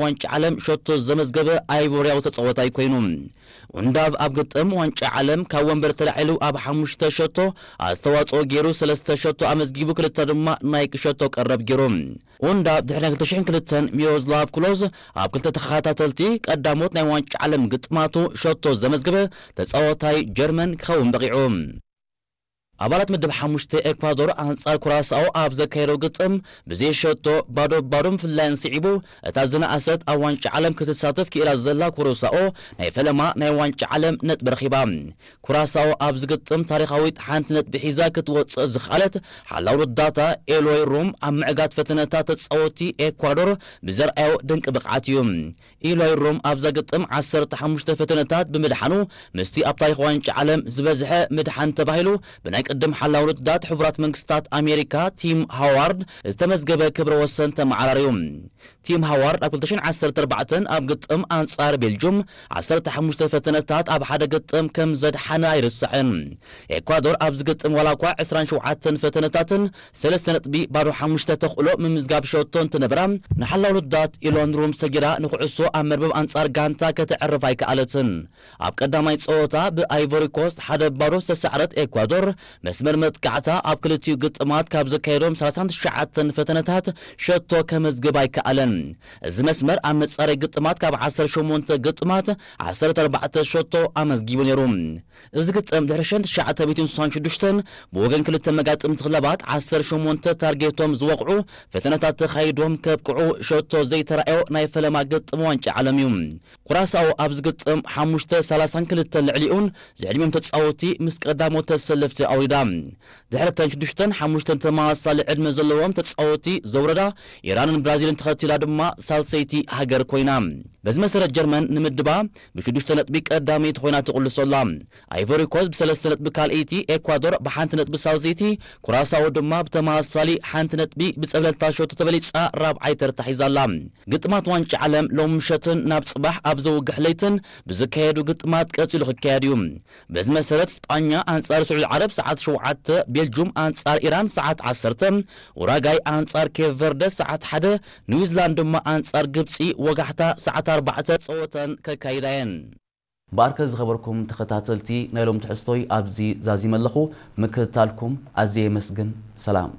ዋንጫ ዓለም ሸቶ ዘመዝገበ ኣይቮርያዊ ተጻዋታይ ኮይኑ። ኡንዳቭ ኣብ ግጥም ዋንጫ ዓለም ካብ ወንበር ተላዒሉ ኣብ ሓሙሽተ ሸቶ ኣስተዋጽኦ ገይሩ ሰለስተ ሸቶ ኣመዝጊቡ፣ ክልተ ድማ ናይ ሸቶ ቀረብ ገይሩ። ኡንዳቭ ድሕሪ ናይ ክልተ ሽሕን ክልተን ሚሮስላቭ ክሎዝ ኣብ ክልተ ተኸታተልቲ ቀዳሞት ናይ ዋንጫ ዓለም ግጥማቱ ሸቶ ዘመዝገበ ተጻዋታይ ጀርመን ክኸውን በቒዑ። ኣባላት ምድብ ሓሙሽተ ኤኳዶር ኣንጻር ኩራሳኦ ኣብ ዘካየደው ግጥም ብዘይ ሸቶ ባዶ ባዶ ምፍላየን ስዒቡ፣ እታ ዝነኣሰት ኣብ ዋንጫ ዓለም ክትሳተፍ ክኢላ ዘላ ኩራሳኦ ናይ ፈለማ ናይ ዋንጫ ዓለም ነጥቢ ረኺባ። ኩራሳኦ ኣብዚ ግጥም ታሪኻዊት ሓንቲ ነጥቢ ሒዛ ክትወጽእ ዝኸኣለት ሓላው ረዳታ ኤሎይ ሩም ኣብ ምዕጋት ፈተነታት ተጻወቲ ኤኳዶር ብዘርኣዮ ድንቂ ብቕዓት እዩ። ኢሎይ ሩም ኣብዛ ግጥም ዓሰርተ ሓሙሽተ ፈተነታት ብምድሓኑ፣ ምስቲ ኣብ ታሪኽ ዋንጫ ዓለም ዝበዝሐ ምድሓን ተባሂሉ ብናይ ቅድም ሓላው ውድዳት ሕቡራት መንግስታት ኣሜሪካ ቲም ሃዋርድ ዝተመዝገበ ክብረ ወሰን ተመዓራርዩ። ቲም ሃዋርድ ኣብ ክልተ ሽሕን ዓሰርተ ኣርባዕተን ኣብ ግጥም ኣንጻር ቤልጁም ዓሰርተ ሓሙሽተ ፈተነታት ኣብ ሓደ ግጥም ከም ዘድሓነ ኣይርሳዕን። ኤኳዶር ኣብዚ ግጥም ዋላ እኳ ዕስራን ሸውዓተን ፈተነታትን ሰለስተ ነጥቢ ባዶ ሓሙሽተ ተኽእሎ ምምዝጋብ ሸቶ እንትነበራ፣ ንሓላው ውድዳት ኢሎን ሩም ሰጊራ ንኩዕሶ ኣብ መርበብ ኣንጻር ጋንታ ከተዕርፍ ኣይከኣለትን። ኣብ ቀዳማይ ጸወታ ብኣይቮሪ ኮስት ሓደ ባዶ ዝተሳዕረት ኤኳዶር፣ መስመር መጥቃዕታ ኣብ ክልቲኡ ግጥማት ካብ ዘካየዶም ሰላሳን ትሽዓተን ፈተነታት ሸቶ ከመዝግብ ኣይከኣለን። እዚ መስመር ኣብ መጻረይ ግጥማት ካብ ዓሰርተ ሸሞንተ ግጥማት ዓሰርተ ኣርባዕተ ሸቶ ኣመዝጊቡ ነይሩ። እዚ ግጥም ድሕሪ ሽሕን ትሽዓተ ሚእትን ስሳን ሽዱሽተን ብወገን ክልተ መጋጥምቲ ክለባት ዓሰርተ ሸሞንተ ታርጌቶም ዝወቕዑ ፈተነታት ተኻይዶም ከብቅዑ ሸቶ ዘይተራእዮ ናይ ፈለማ ግጥም ዋንጫ ዓለም እዩ። ኩራሳኦ ኣብዚ ግጥም ሓሙሽተ ሰላሳን ክልተን ልዕሊኡን ዝዕድሚኦም ተጻወቲ ምስ ቀዳሞት ተሰለፍቲ ኣውሪዳ። ድሕሪ እተን ሽዱሽተን ሓሙሽተን ተመሳሳሊ ዕድመ ዘለዎም ተጻወቲ ዘውረዳ ኢራንን ብራዚልን ተኸቲላ ድማ ሳልሰይቲ ሃገር ኮይና። በዚ መሰረት ጀርመን ንምድባ ብሽዱሽተ ነጥቢ ቀዳመይቲ ኮይና ትቕልሶ ኣላ። ኣይቮሪ ኮስት ብሰለስተ ነጥቢ ካልኣይቲ፣ ኤኳዶር ብሓንቲ ነጥቢ ሳልሰይቲ፣ ኩራሳኦ ድማ ብተመሳሳሊ ሓንቲ ነጥቢ ብጸብለልታ ሸቶ ተበሊጻ ራብዓይ ተርታ ሒዛ ኣላ። ግጥማት ዋንጫ ዓለም ሎም ምሸትን ናብ ጽባሕ ኣብ ዘውግሕ ለይትን ብዝካየዱ ግጥማት ቀጺሉ ክካየድ እዩ። በዚ መሰረት ስጳኛ ኣንጻር ስዑዲ ዓረብ ሰዓት ሸውዓተ፣ ቤልጁም ኣንጻር ኢራን ሰዓት ዓሰርተ፣ ኡራጋይ ኣንጻር ኬፕ ቨርደ ሰዓት ሓደ፣ ኒውዚላንድ ድማ ኣንጻር ግብጺ ወጋሕታ ሰዓት ኣርባዕተ ጸወተን ከካይዳ እየን። ብኣርከ ዝኸበርኩም ተኸታተልቲ ናይ ሎም ትሕዝቶይ ኣብዚ ዛዚመ ኣለኹ። ምክትታልኩም ኣዝየ የመስግን። ሰላም።